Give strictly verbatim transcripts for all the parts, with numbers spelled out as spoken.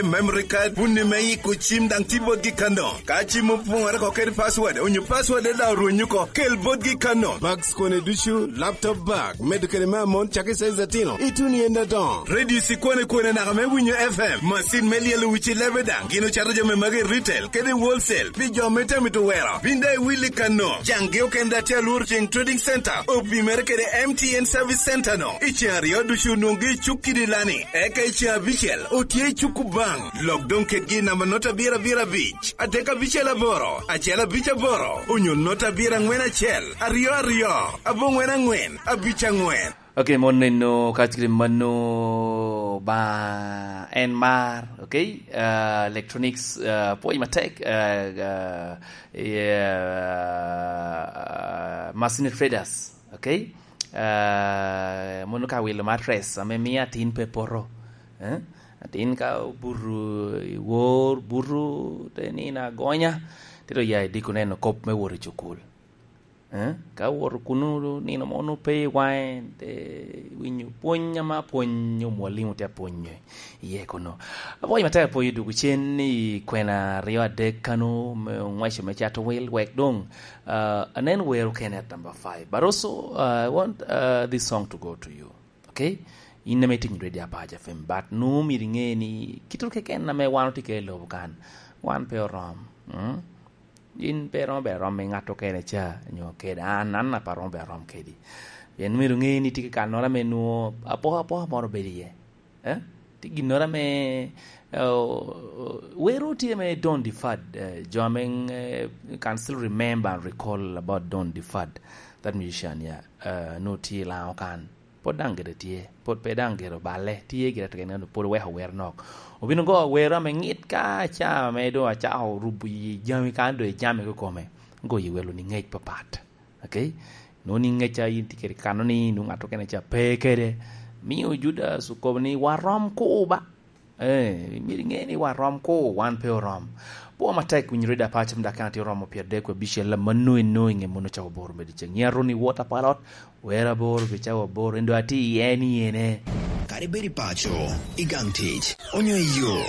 Memory card, wun ni me yiko cim daŋ ti botgi kano. Ka cim opoŋore oko kede password, onyo password daŋ orweny oko, kel botgi kano. Bags kone ducu, laptop bag, medo kede me amon, cakki size atino, ituno i ende adoŋo. Radio ci kwane kwane naka me winyo F M, macin me lyelo wici lebe daŋ, gin ocato jami magi i retail, kede i wholesale, pi jo me temo mito wero. Bin daŋ iwilli kano, caŋgi okene daŋ tye Alur Ceng Trading Center, opimere kede M T N Service Center no. I ceŋ aryo ducu onwoŋgi i cuk kidi lani, eka i ceŋ abicel otye i cuk Kubaŋ. Lok doŋ kedgi i namba nota abiro abiro abic, adek abicel aboro, acel abic aboro, onyo nota abiro aŋwen acel, aryo aryo, aboŋwen aŋwen, abic aŋwen. Ok, mon neno ka tye mano ba en mar, ok? Ah, electronics, ah, pwony matek, ah, ah, yeah, ah, Masini Traders, ok? Ah, mono ka wilo mattress, ame miyo atin pe poto, eh? Atin ka obuto i wor, buto, te nino agonya, te dok ya idiko neno kop me wot i cukul. Eh? Ka owoto kuno nino mo onwoŋo pe i waŋe, te winyo pwony ame apwony omwalimu tye apwonyo iye kuno. Apwony matek apwony odwogo cen i kwena aryo adek kano me oŋweco me cato wil, wek doŋ, ah, anen wero Kenneth number five. But also, ah, I want, ah, this song to go to you. Ok? In ame itinyo Radio Apac F M, but nwoŋo myero iŋe ni kite keken ame wan otye kede i lobo kan, wan pe orom. Mm? In pe iromo bedo arom i ŋat okene ca, nyo kede an, an pe aromo bedo arom kedi. Pien myero iŋe ni tye ki kannoro ame nwoŋo apokapoka moro bedo iye. Eh? Tye ginnoro ame, eh, wero tye ame don't deferred, eh, jo ame, eh, can still remember and recall about don't deferred. That musician, yeah, eh, nwoŋo tye i Laŋo kan. Pwod daŋ gire tye, pwod pe daŋ gire oballe, tye gire keken, pwod oweko wer nok. Obino go wer ame ŋit ka ca ame doŋ acako rubo yi jami kan, doŋ ijami kikome, go yi welo ni ŋec papat. Ok? Nwoŋo ni ŋec a in tye kede kano ni, nwoŋo ŋat okene ca pe kede. Mio Judas okobo ni, "Warom ko ba." Eh, myero iŋe ni warom ko, wan pe orom. Pwo matek winyo Radio Apac F M dakika tye oromo pyeraryo abicel, mano eno i ŋe mano cawa aboro me dyeceŋ. Nyiŋa Ronnie Walter Palot, wero aboro pi cawa aboro, en doŋ atye i en i ene. Kadi bed i paco, i gang tic, onyo i yo,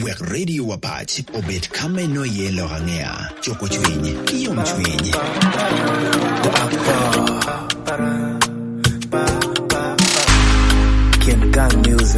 wek Radio Apac obed ka me no iye lok aŋea, cuko cwiny, ki yom cwiny. Kin gang music.